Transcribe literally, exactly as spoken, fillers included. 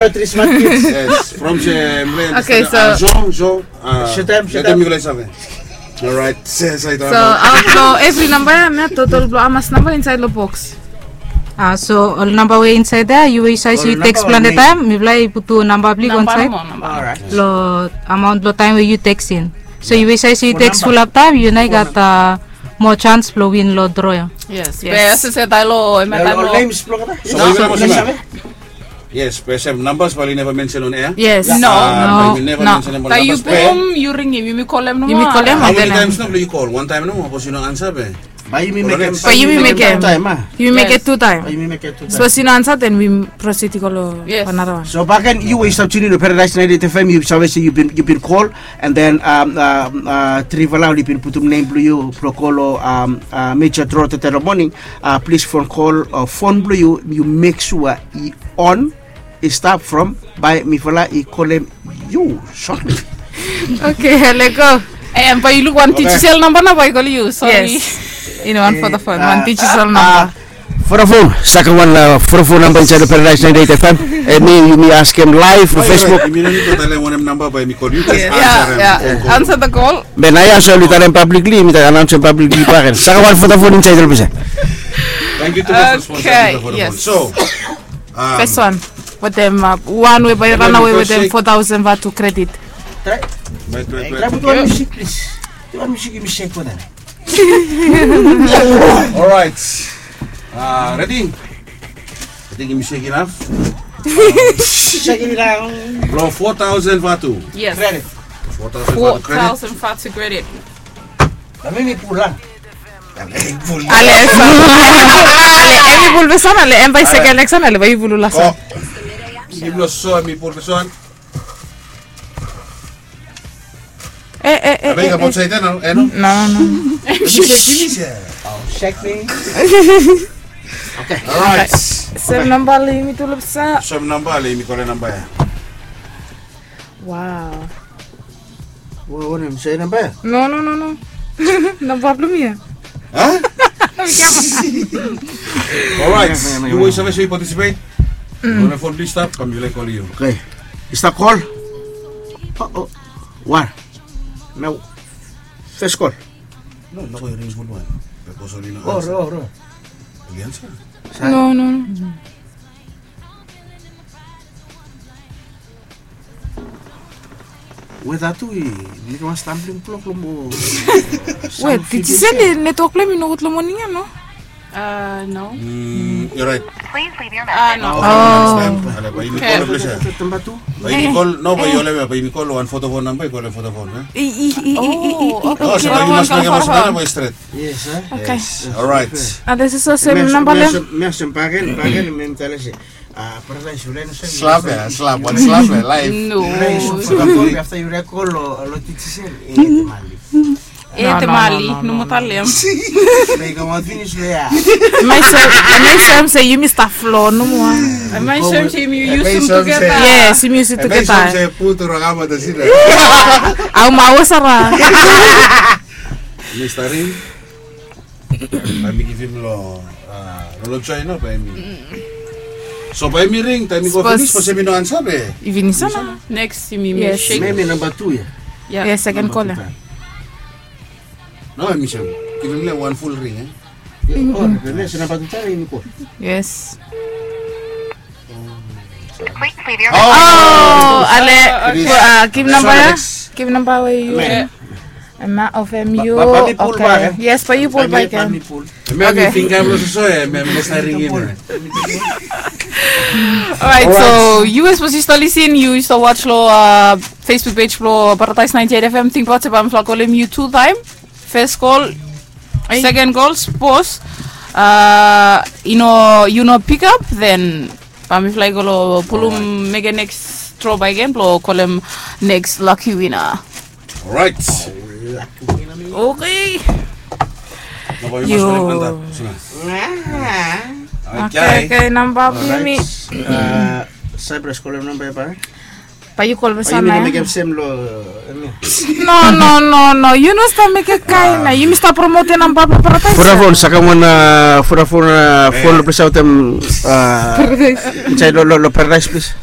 Three smart kids. Yes, from se mle. Okay, so Zong, Zong. Setem, setem. Mifala i save. Alright, se, se. So out lo evri namba ya, hemia total blo hamas namba insaed lo box? Ah, so ol namba we insaed ya, yu we yu save se yu teks plante taem, mifala i putum namba blo yu go insaed. Lo amaon blo taem we yu teks in. So yu we yu save se yu teks fulap taem, yu nao i gat moa jans blo win lo dro ya. Yes. Be se se taem lo hemia taem lo. Yes, be se namba bae oli neva mensen on air. Yes. No. Bae yu neva mensen on namba. Bae yu bum, yu ringim, yumi kolem nomo. Yumi kolem. How many times nao bae yu kol? Wan taem nomo, sapos yu no ansa be. Bae yumi mekem. Bae yumi mekem tu taem. Yumi mekem tu taem. Bae yumi mekem tu taem. Sapos yu no ansa, then we proceed i go lo another one. So bakegen yu we yu stap tuning in lo Paradise ninety-eight F M, yu save se yu bin, yu bin kol, and then um, um, uh, trifala oli bin putum nem blo yu blo kol lo um, uh, major draw tede lo moning. Uh, plis fon kol, uh, fon blo yu, yu mek sua i on, i stap from bae mifala i kolem yu shortly. Okay, lego. Em, bae yu luk wan digital namba nao bae i kol yu. Sori. Yes. I no wan Vodafone, wan digital namba. Vodafone, saka wan, uh, Vodafone namba insaed lo Paradise ninety-eight F M. Hemi, yumi askem live lo Facebook. Yumi no nid lo talem wanem namba bae yumi kol yu. Just ansarem. Answer the call. Be naoia so oli talem publicly, mi talem announce publicly bakegen. Saka wan Vodafone insaed lo pese. Thank you tumas lo sponsor Vodafone. So, um, first one. Wetem, uh, wan we bae i ranawe wetem four thousand vatu credit. Try. Wait, wait, wait. Try put wan musik, please. Put wan musik, yumi sek wetem. Alright. Uh, ready? I think yumi sek inaf. Sek inaf. Blo four thousand vatu. Yes. Credit. Four thousand vatu credit. Four thousand vatu credit. Bae mi pul a. Ale, ale, hemi pul bes wan, ale, hem bae i sek, ale, ale, bae yu pul la. Yumi pul bes wan. Eh, eh, eh. Bae i kam aotsaed ya nao, eh, no? No, no. Yumi sek, yumi sek. Oh, sek mi. Okay. Alright. Sem namba le yumi tu lo pese. Sem namba le yumi kol namba ya. Wow. Wa, wanem, se namba ya? No, no, no, no. Namba blo mi ya. Huh? Alright. Yu we yu save se yu participate. Yu wantem fon, plis stap, kam mifala i kol yu. Okay. I stap kol? Oh, oh. Wan. Nao. Fes kol. No, no, yu ring gud wan. Bikos oli no ansa. Oh, ro, ro. Oli ansa. No, no, no. Weta tu i mekem wan stumbling block lo mo. Wet, i se netwok blo hem i nogud lo moning ya, no? Uh, no. Mm, you're right. Please leave your message. Ah, no. Oh. Ale, bae yumi kol lo ples ya. Bae yumi kol, no, bae yu olem ya, bae yumi kol wan Vodafone namba, yu kol wan Vodafone, eh? I, i, i, i, i, i. Oh, okay. So bae yu mas mekem wan Vodafone namba stret. Yes, eh? Okay. Alright. Ah, this is the same number, le? Mi asem bakegen, bakegen, mi talem se. Ah, Paradise, yu rai no save. Slap ya, slap, wan slap ya, live. No. Yu rai no save. Afta yu rai kol lo, lo digital, eh, temali. Eh, temali, no mo talem. Bae i kamaot finis lo ya. Hemia i soem se yumi stap flo nomo. Hemia i soem se yumi yusum tugeta. Yes, yumi yusum tugeta. Hemia i soem se putu ragama da sida. Au mawa sara. Hemia i starim. Bae mi givim lo, ah, lo, lo join, no, bae mi. So bae mi ring, taem i go finis, sapos hemi no ansa be. I finis nao. Next, yumi, yes, shake. Hemi namba tu ya. Ya. Yes, seken kol ya. No, hemi sem. Givim le wan ful ring, eh. Oh, hemi namba tu taem yumi kol. Yes. Oh, ale, ah, givim namba ya. Givim namba we yu. Hemia of hemia. Bae mi pul bak, eh? Yes, bae yu pul bak, eh? Bae mi pul. Hemia hemi finga blo soso, eh, hemia hemi stap ringim, eh. Alright, so yu we sapos yu stap lisin, yu stap watch lo, uh, Facebook page blo Paradise ninety-eight F M, tingbaot se bae mifala kolem yu tu taem. Fes kol, seken kol, sapos, uh, yu no, yu no pick up, then bae mifala i go lo pulum, mekem next draw bakegen blo kolem next lucky winner. Alright. Okay. Yo. Okay, okay, namba blo mi. Cyprus, kolem namba ya bae. Bae yu kol bes wan ya. No, no, no, no. Yu no stap mekem kaen ya. Yumi stap promotem namba blo Paradise. Vodafone, sakem wan, uh, Vodafone, uh, fon lo ples ya wetem, uh, insaed lo, lo, lo Paradise, plis.